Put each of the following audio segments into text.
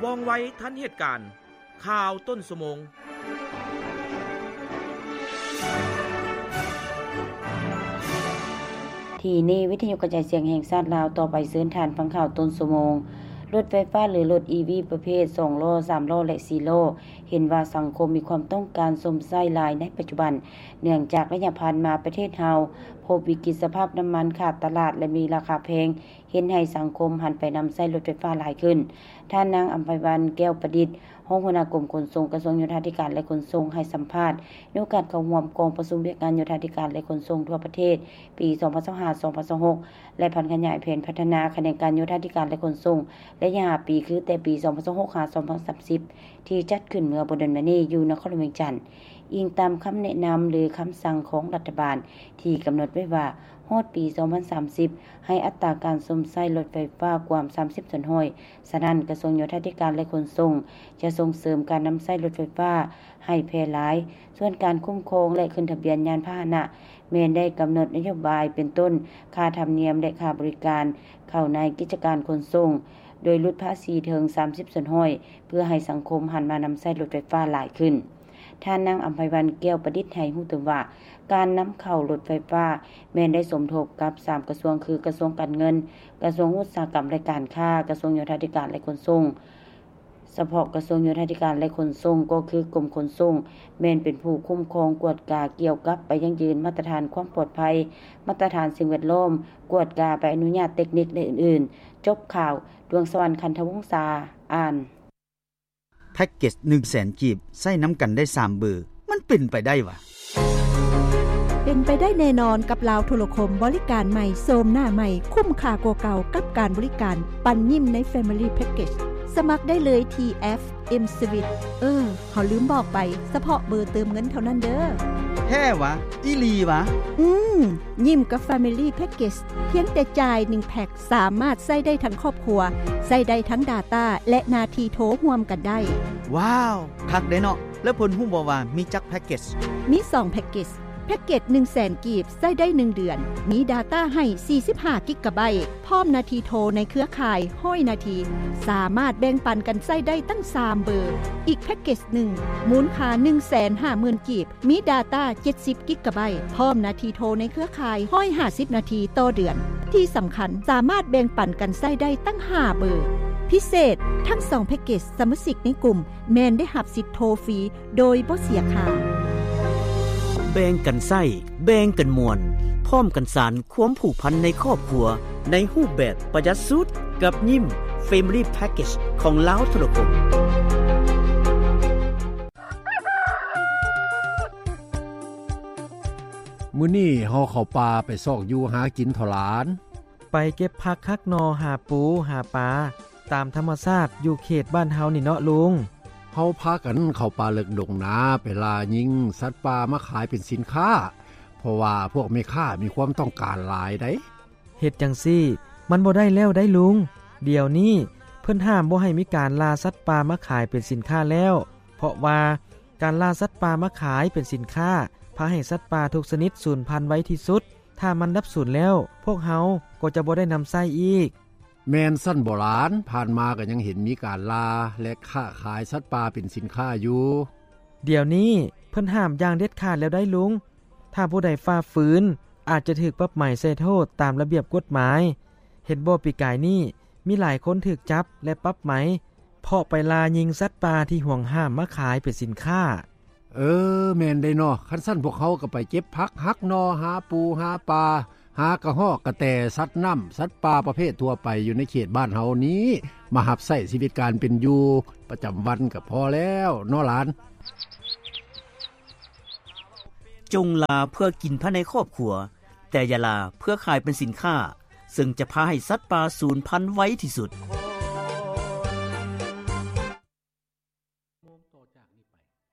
ວ່ອງໄວທັນເຫດການ. ຂ່າວຕົ້ນຊົ່ວໂມງ. ທີ່ນີ້ ວິທະຍຸກະຈາຍສຽງແຫ່ງຊາດລາວ ຕໍ່ໄປເຊີນທ່ານຟັງຂ່າວຕົ້ນຊົ່ວໂມງ. ລົດໄຟຟ້າ ຫຼື ລົດ ອີ ວີ ປະເພດສອງລໍ້, ສາມລໍ້ ແລະ ສີ່ລໍ້ ເຫັນວ່າສັງຄົມມີຄວາມຕ້ອງການຊົມໃຊ້ຫຼາຍໃນປັດຈຸບັນ, ເນື່ອງຈາກໄລຍະຜ່ານມາປະເທດເຮົາພົບວິກິດສະພາບນ້ຳມັນຂາດຕະຫຼາດ ແລະ ມີລາຄາແພງ, ເຮັດໃຫ້ສັງຄົມຫັນໄປນຳໃຊ້ລົດໄຟຟ້າຫຼາຍຂຶ້ນ. ທ່ານນາງ ອຳໄພວັນ ແກ້ວປະດິດ ຮອງຫົວໜ້າກົມຂົນສົ່ງ ກະຊວງໂຍທາທິການ ແລະ ຂົນສົ່ງ ໃຫ້ສຳພາດໃນໂອກາດເຂົ້າຮ່ວມກອງປະຊຸມວຽກງານໂຍທາທິການ ແລະ ຂົນສົ່ງທົ່ວປະເທດ ປີສອງພັນຊາວຫ້າ ສອງພັນຊາວຫົກ ແລະ ຜັນຂະຫຍາຍແຜນພັດທະນາຂະແໜງການໂຍທາທິການ ແລະ ຂົນສົ່ງ ໄລຍະຫ້າປີ ຄືແຕ່ປີສອງພັນຊາວຫົກ ຫາ ສອງພັນສາມສິບ ທີ່ຈັດຂຶ້ນເມື່ອບໍ່ດົນມານີ້ຢູ່ນະຄອນຫຼວງວຽງຈັນ. ອີງຕາມຄຳແນະນຳ ຫຼື ຄຳສັ່ງຂອງລັດຖະບານ ທີ່ກຳນົດໄວ້ວ່າ ຮອດປີສອງພັນສາມສິບ ໃຫ້ອັດຕາການຊົມໃຊ້ລົດໄຟຟ້າກວມສາມສິບສ່ວນຮ້ອຍ. ສະນັ້ນ, ກະຊວງໂຍທາທິການ ແລະ ຂົນສົ່ງ ຈະສົ່ງເສີມການນຳໃຊ້ລົດໄຟຟ້າໃຫ້ແຜ່ຫຼາຍ. ສ່ວນການຄຸ້ມຄອງ ແລະ ຂຶ້ນທະບຽນຍານພາຫະນະ ແມ່ນໄດ້ກຳນົດນະໂຍບາຍ ເປັນຕົ້ນ ຄ່າທຳນຽມ ແລະ ຄ່າບໍລິການເຂົ້າໃນກິດຈະການຂົນສົ່ງ ໂດຍຫຼຸດພາສີເຖິງສາມສິບສ່ວນຮ້ອຍ ເພື່ອໃຫ້ສັງຄົມຫັນມານຳໃຊ້ລົດໄຟຟ້າຫຼາຍຂຶ້ນ. ທ່ານນາງ ອຳໄພວັນ ແກ້ວປະດິດ ໃຫ້ຮູ້ຕື່ມວ່າ ການນຳເຂົ້າລົດໄຟຟ້າແມ່ນໄດ້ສົມທົບກັບສາມກະຊວງ ຄື ກະຊວງການເງິນ, ກະຊວງອຸດສາຫະກຳ ແລະ ການຄ້າ, ກະຊວງໂຍທາທິການ ແລະ ຂົນສົ່ງ. ສະເພາະກະຊວງໂຍທາທິການ ແລະ ຂົນສົ່ງ ກໍຄືກົມຂົນສົ່ງ ແມ່ນເປັນຜູ້ຄຸ້ມຄອງກວດກາກ່ຽວກັບໄປຢັ້ງຢືນມາດຕະຖານຄວາມປອດໄພ, ມາດຕະຖານສິ່ງແວດລ້ອມ, ກວດກາໃບອະນຸຍາດເຕັກນິກ ແລະ ອື່ນໆ. ຈົບຂ່າວ. ດວງສະຫວັນ ຄັນທະວົງສາ ອ່ານ. ແພັກເກັດໜຶ່ງແສນກີບ ໃຊ້ນຳກັນໄດ້ສາມເບີ ມັນເປັນໄປໄດ້ຫວາ? ເປັນໄປໄດ້ແນ່ນອນກັບລາວໂທລະຄົມ ບໍລິການໃໝ່ ໂສມໜ້າໃໝ່ ຄຸ້ມຄ່າກວ່າເກົ່າກັບການບໍລິການ ປັນຍິ້ມໃນ Family Package. ສະໝັກໄດ້ເລີຍທີ່ ເອັຟ ເອັມ Sweet. ເອີ ເຮົາລືມບອກໄປ, ສະເພາະເບີເຕີມເງິນເທົ່ານັ້ນເດີ້. ແທ້ຫວາ? ອີ່ຫຼີຫວາ? ອືມ, ຍິ້ມກັບ Family Package ພຽງແຕ່ຈ່າຍໜຶ່ງແພັກ ສາມາດໃຊ້ໄດ້ທັງຄອບຄົວ, ໃຊ້ໄດ້ທັງ data ແລະ ໜ້າທີ່ໂທຮ່ວມກັນໄດ້. ວ້າວ, ຄັກເດ້ເນາະ. ແລ້ວເພິ່ນຮູ້ບໍ່ວ່າມີຈັກແພັກເກັດ? ມີສອງແພັກເກັດ. ແພັກເກັດໜຶ່ງແສນກີບ ໃຊ້ໄດ້ໜຶ່ງເດືອນ, ມີ data ໃຫ້ສີ່ສິບຫ້າກິກກະໄບ, ພ້ອມໜ້າທີ່ໂທໃນເຄືອຂ່າຍຮ້ອຍນາທີ, ສາມາດແບ່ງປັນກັນໃຊ້ໄດ້ຕັ້ງສາມເບີ. ອີກແພັກເກັດໜຶ່ງ ມູນຄ່າໜຶ່ງແສນຫ້າໝື່ນກີບ, ມີ data ເຈັດສິບກິກກະໄບ, ພ້ອມໜ້າທີ່ໂທໃນເຄືອຂ່າຍຮ້ອຍຫ້າສິບນາທີຕໍ່ເດືອນ. ທີ່ສຳຄັນ, ສາມາດແບ່ງປັນກັນໃຊ້ໄດ້ຕັ້ງຫ້າເບີ. ພິເສດ, ທັງສອງແພັກເກັດ ສະມາຊິກໃນກຸ່ມແມ່ນໄດ້ຮັບສິດໂທຟຣີໂດຍບໍ່ເສຍຄ່າ. ແບ່ງກັນໃຊ້, ແບ່ງກັນມ່ວນ, ພ້ອມກັນສານຄວາມຜູກພັນໃນຄອບຄົວ ໃນຮູບແບບປະຢັດສຸດ ກັບຍິ້ມ Family Package ຂອງລາວໂທລະຄົມ. ມື້ນີ້ເຮົາເຂົ້າປ່າໄປຊອກຢູ່ຫາກິນເຖາະຫຼານ. ໄປເກັບຜັກຫັກໜໍ່ ຫາປູ ຫາປາ ຕາມທຳມະຊາດຢູ່ເຂດບ້ານເຮົານີ້ເນາະລຸງ. ເຮົາພາກັນເຂົ້າປ່າເລິກດົງນາ ໄປລ່າຍິງສັດປ່າມາຂາຍເປັນສິນຄ້າ ເພາະວ່າພວກແມ່ຄ້າມີຄວາມຕ້ອງການຫຼາຍໃດ໋. ເຮັດຈັ່ງຊີ້ມັນບໍ່ໄດ້ແລ້ວໃດ໋ລຸງ. ດຽວນີ້ເພິ່ນຫ້າມບໍ່ໃຫ້ມີການລ່າສັດປ່າມາຂາຍເປັນສິນຄ້າແລ້ວ, ເພາະວ່າການລ່າສັດປ່າມາຂາຍເປັນສິນຄ້າ ພາໃຫ້ສັດປ່າທຸກຊະນິດສູນພັນໄວທີ່ສຸດ. ຖ້າມັນດັບສູນແລ້ວ, ພວກເຮົາກໍຈະບໍ່ໄດ້ນຳໃຊ້ອີກ. ແມ່ນຊັ້ນບໍຫຼານ, ຜ່ານມາກໍຍັງເຫັນມີການລ່າ ແລະ ຄ້າຂາຍສັດປ່າເປັນສິນຄ້າຢູ່. ດຽວນີ້ເພິ່ນຫ້າມຢ່າງເດັດຂາດແລ້ວໄດ໋ລຸງ. ຖ້າຜູ້ໃດຝ່າຝືນ, ອາດຈະຖືກປັບໃໝໃສ່ໂທດຕາມລະບຽບກົດໝາຍ. ເຫັນບໍ່, ປີກາຍນີ້ມີຫຼາຍຄົນຖືກຈັບ ແລະ ປັບໃໝ ເພາະໄປລ່າຍິງສັດປ່າທີ່ຫວງຫ້າມມາຂາຍເປັນສິນຄ້າ. ເອີ, ແມ່ນເດ້ເນາະ. ຄັນຊັ້ນພວກເຮົາກໍໄປເກັບຜັກຫັກໜໍ່, ຫາປູ, ຫາປາ, ຫາກະຮອກ, ກະແຕ, ສັດນ້ຳ, ສັດປ່າປະເພດທົ່ວໄປຢູ່ໃນເຂດບ້ານເຮົານີ້ ມາຮັບໃຊ້ຊີວິດການເປັນຢູ່ປະຈຳວັນກໍພໍແລ້ວເນາະຫຼານ. ຈົ່ງລ່າເພື່ອກິນພາຍໃນຄອບຄົວ, ແຕ່ຢ່າລ່າເພື່ອຂາຍເປັນສິນຄ້າ, ເຊິ່ງຈະພາໃຫ້ສັດປ່າສູນພັນໄວທີ່ສຸດ. ໂມງຕໍ່ຈາກນີ້ໄປ,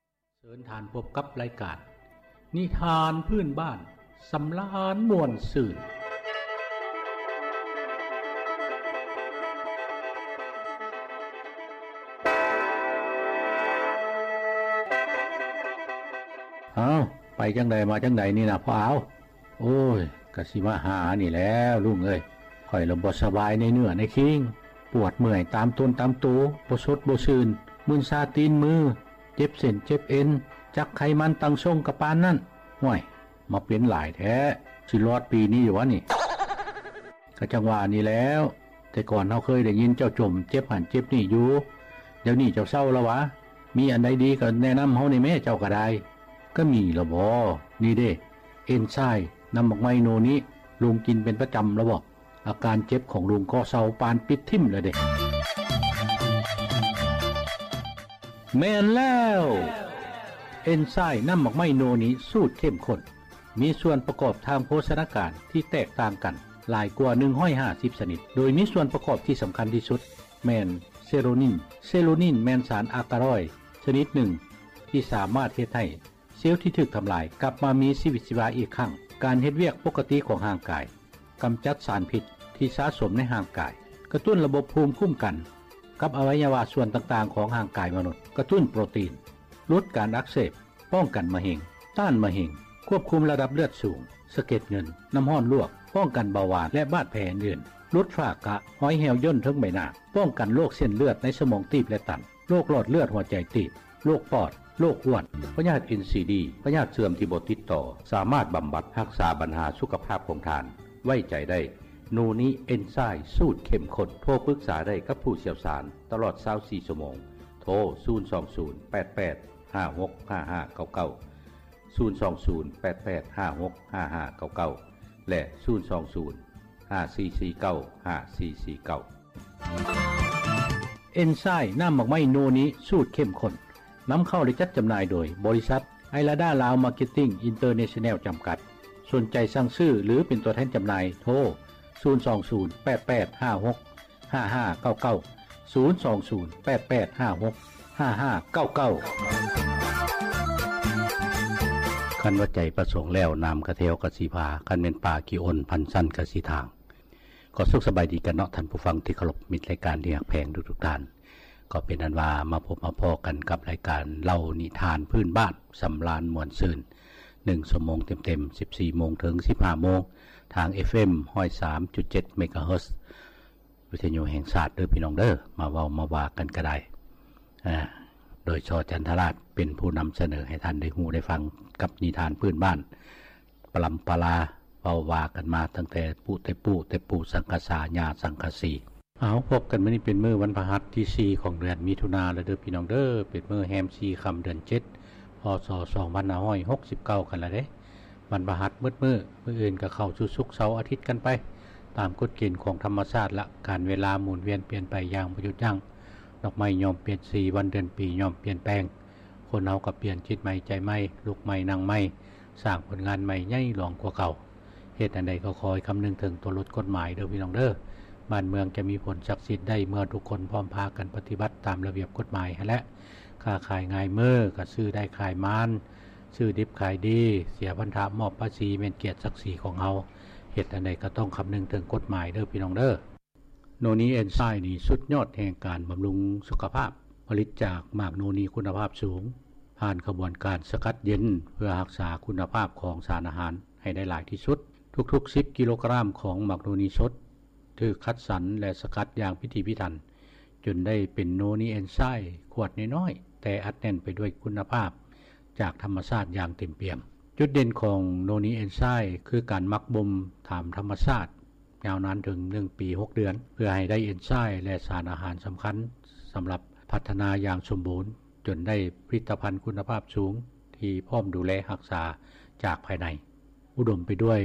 ເຊີນທ່ານພົບກັບລາຍການນິທານພື້ນບ້ານ ສຳລານມ່ວນຊື່ນ. ອ້າວ, ໄປຈັ່ງໃດມາຈັ່ງໃດນີ້ນະພໍ່ອາວ? ໂອ້ຍ, ກະຊິມາຫານີ້ແຫຼະລຸງເອີຍ. ຂ້ອຍລະບໍ່ສະບາຍໃນເນື້ອໃນຄີງ, ປວດເມື່ອຍຕາມຕົນຕາມໂຕ, ບໍ່ສົດບໍ່ຊື່ນ, ມຶນຊາຕີນມື, ເຈັບເສັ້ນເຈັບເອັນ, ຈັກໄຂມັນຕັ້ງຊົງກະປານນັ້ນ. ຫ້ວຍ, ມາເປັນຫຼາຍແທ້, ຊິລອດປີນີ້ຢູ່ຫວານີ້? ກະຈັ່ງວ່ານີ້ແຫຼ້ວ, ແຕ່ກ່ອນເຮົາເຄີຍໄດ້ຍິນເຈົ້າຈົ່ມເຈັບຫັ້ນເຈັບນີ້ຢູ່, ດຽວນີ້ເຈົ້າເຊົາແລ້ວຫວາ? ມີອັນໃດດີກະແນະນຳເຮົາແດ່ແມ້, ເຈົ້າກະໄດ້. ກະມີລະບໍ? ນີ້ເດ້, ເອັນຊາຍນ້ຳໝາກໄມ້ໂນນິ, ລຸງກິນເປັນປະຈຳລະບໍ? ອາການເຈັບຂອງລຸງກໍເຊົາປານປິດຖິ້ມແລ້ວເດ້. ແມ່ນແລ້ວ! ເອັນຊາຍນ້ຳໝາກໄມ້ໂນນິສູດເຂັ້ມຂຸ້ນ ມີສ່ວນປະກອບທາງໂພຊະນາການທີ່ແຕກຕ່າງກັນຫຼາຍກວ່າໜຶ່ງຮ້ອຍຫ້າສິບຊະນິດ, ໂດຍມີສ່ວນປະກອບທີ່ສຳຄັນທີ່ສຸດແມ່ນເຊໂຣນິນ. ເຊໂຣນິນແມ່ນສານອາກາຣອຍຊະນິດໜຶ່ງທີ່ສາມາດເຮັດໃຫ້ ເຊວທີ່ຖືກທຳລາຍກັບມາມີຊີວິດຊີວາອີກຄັ້ງ, ການເຮັດວຽກປົກກະຕິຂອງຮ່າງກາຍ, ກຳຈັດສານພິດທີ່ສະສົມໃນຮ່າງກາຍ, ກະຕຸ້ນລະບົບພູມຄຸ້ມກັນກັບອະໄວຍະວະສ່ວນຕ່າງໆຂອງຮ່າງກາຍມະນຸດ, ກະຕຸ້ນໂປຣຕີນ, ຫຼຸດການອັກເສບ, ປ້ອງກັນມະເຮັງ, ຕ້ານມະເຮັງ, ຄວບຄຸມລະດັບເລືອດສູງ, ສະເກັດເງິນ, ນ້ຳຮ້ອນລວກ, ປ້ອງກັນເບົາຫວານ ແລະ ບາດແຜອື່ນໆ, ຫຼຸດຝ້າກະ, ຮອຍແຫ້ວຍ່ນເທິງໃບໜ້າ, ປ້ອງກັນໂລກເສັ້ນເລືອດໃນສະໝອງຕີບ ແລະ ຕັນ. ໂລກຫຼອດເລືອດຫົວໃຈຕີບ, ໂລກປອດ, ໂລກອ້ວນ, ພະຍາດເອັນຊີດີ, ພະຍາດເສື່ອມທີ່ບໍ່ຕິດຕໍ່, ສາມາດບຳບັດຮັກສາບັນຫາສຸຂະພາບຂອງທ່ານ. ໄວ້ໃຈໄດ້, ໂນນິເອັນຊາຍສູດເຂັ້ມຂຸ້ນ. ໂທປຶກສາໄດ້ກັບຜູ້ຊ່ຽວຊານຕະຫຼອດຊາວສີ່ຊົ່ວໂມງ. ໂທ ສູນສອງສູນ ແປດແປດ ຫ້າຫົກ ຫ້າຫ້າເກົ້າເກົ້າ, ສູນສອງສູນ ແປດແປດ ຫ້າຫົກ ຫ້າຫ້າເກົ້າເກົ້າ ແລະ ສູນສອງສູນ ຫ້າສີ່ສີ່ເກົ້າ ຫ້າສີ່ສີ່ເກົ້າ. ເອັນຊາຍນ້ຳໝາກໄມ້ໂນນິສູດເຂັ້ມຂຸ້ນ ນຳເຂົ້າ ແລະ ຈັດຈຳໜ່າຍໂດຍບໍລິສັດ ໄອລາດາລາວມາເກັດຕິ້ງອິນເຕີເນຊັນແນວຈຳກັດ. ສົນໃຈສັ່ງຊື້ ຫຼື ເປັນຕົວແທນຈຳໜ່າຍ ໂທ ສູນສອງສູນ ແປດແປດ ຫ້າຫົກ ຫ້າຫ້າເກົ້າເກົ້າ, ສູນສອງສູນ ແປດແປດ ຫ້າຫົກ ຫ້າຫ້າເກົ້າເກົ້າ. ຄັນວ່າໃຈປະສົງແລ້ວ ນ້ຳກະແທວກະຊິພາ, ຄັນແມ່ນປາຂີ້ອົນ ພັນຊັ້ນກະຊິທາງ. ກໍສຸກສະບາຍດີກັນເນາະ ທ່ານຜູ້ຟັງທີ່ເຄົາລົບ, ມິດລາຍການທີ່ຮັກແພງທຸກໆທ່ານ. ກໍເປັນອັນວ່າມາພົບມາພໍ້ກັນກັບລາຍການເລົ່ານິທານພື້ນບ້ານ ສຳລານມ່ວນຊື່ນ ໜຶ່ງຊົ່ວໂມງເຕັມໆ ສິບສີ່ໂມງເຖິງສິບຫ້າໂມງ ທາງ ເອັຟເອັມ ຮ້ອຍສາມຈຸດເຈັດ ເມກາເຮີດ ວິທະຍຸແຫ່ງຊາດເດີພີ່ນ້ອງເດີ. ມາເວົ້າມາວ່າກັນກະໄດ້ ອາ ໂດຍ ຊ ຈັນທະລາດ ເປັນຜູ້ນຳສະເໜີໃຫ້ທ່ານໄດ້ຮູ້ໄດ້ຟັງກັບນິທານພື້ນບ້ານ ປະລຳປະລາ ເວົ້າວ່າກັນມາຕັ້ງແຕ່ປູ່ແຕ່ປູ່ ແຕ່ປູ່ສັງກະສາ ຍ່າສັງກະສີ. ເອົາ ພົບກັນມື້ນີ້ເປັນມື້ວັນພະຫັດທີສີ່ຂອງເດືອນມິຖຸນາແລ້ວເດີພີ່ນ້ອງເດີ, ເປັນມື້ແຮມສີ່ຄ່ຳເດືອນເຈັດ ພ.ສ. ສອງພັນຫ້າຮ້ອຍຫົກສິບເກົ້າກັນລະເດ້. ວັນພະຫັດໝົດມື້, ມື້ອື່ນກໍເຂົ້າສູ່ສຸກເສົາອາທິດກັນໄປ ຕາມກົດເກນຂອງທຳມະຊາດລະ, ການເວລາໝູນວຽນປ່ຽນໄປຢ່າງບໍ່ຢຸດຢັ້ງ. ດອກໄມ້ຍ່ອມປ່ຽນສີ, ວັນເດືອນປີຍ່ອມປ່ຽນແປງ. ຄົນເຮົາກໍປ່ຽນຈິດໃໝ່ໃຈໃໝ່, ລຸກໃໝ່ນັ່ງໃໝ່, ສ້າງຜົນງານໃໝ່ໃຫຍ່ຫຼວງກວ່າເກົ່າ. ເຮັດອັນໃດກໍຂໍໃຫ້ຄຳນຶງເຖິງຕົວບົດກົດໝາຍເດີພີ່ນ້ອງເດີ. ບ້ານເມືອງຈະມີຜົນສັກສິດໄດ້ເມື່ອທຸກຄົນພ້ອມພາກັນປະຕິບັດຕາມລະບຽບກົດໝາຍຫັ້ນແຫຼະ. ຄ້າຂາຍງ່າຍມື, ກໍຊື້ໄດ້ຂາຍໝານ, ຊື້ດິບຂາຍດີ, ເສຍພັນທະມອບພາສີ ແມ່ນກຽດສັກສີຂອງເຮົາ. ເຮັດອັນໃດກໍຕ້ອງຄຳນຶງເຖິງກົດໝາຍເດີພີ່ນ້ອງເດີ. ໂນນີເອັນຊາຍນີ້ສຸດຍອດແຫ່ງການບຳລຸງສຸຂະພາບ, ຜະລິດຈາກໝາກໂນນີຄຸນນະພາບສູງ, ຜ່ານຂະບວນການສະກັດເຢັນ ເພື່ອຮັກສາຄຸນນະພາບຂອງສານອາຫານໃຫ້ໄດ້ຫຼາຍທີ່ສຸດ. ທຸກໆສິບກິໂລກຣາມຂອງໝາກໂນນີສົດ ຖືກຄັດສັນ ແລະ ສະກັດຢ່າງພິຖີພິຖັນ ຈົນໄດ້ເປັນໂນນີເອັນຊາຍຂວດນ້ອຍໆ ແຕ່ອັດແໜ້ນໄປດ້ວຍຄຸນນະພາບຈາກທຳມະຊາດຢ່າງເຕັມປ່ຽມ. ຈຸດເດັ່ນຂອງໂນນີເອັນຊາຍຄືການໝັກບົ່ມຕາມທຳມະຊາດ ຍາວນານເຖິງໜຶ່ງປີຫົກເດືອນ ເພື່ອໃຫ້ໄດ້ເອັນຊາຍ ແລະ ສານອາຫານສຳຄັນ ສຳລັບພັດທະນາຢ່າງສົມບູນ ຈົນໄດ້ຜະລິດຕະພັນຄຸນນະພາບສູງ ທີ່ພ້ອມດູແລຮັກສາຈາກພາຍໃນ. ອຸດົມໄປດ້ວຍ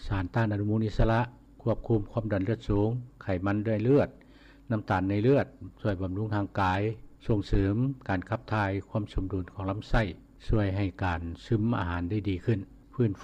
ສານຕ້ານອະນຸມູນອິດສະຫຼະ, ຄວບຄຸມຄວາມດັນເລືອດສູງ, ໄຂມັນໃນເລືອດ, ນ້ຳຕານໃນເລືອດ, ຊ່ວຍບຳລຸງຮ່າງກາຍ, ສົ່ງເສີມການຂັບຖ່າຍ, ຄວາມສົມດຸນຂອງລຳໄສ້, ຊ່ວຍໃຫ້ການຊຶມອາຫານໄດ້ດີຂຶ້ນ, ຟື້ນຟູ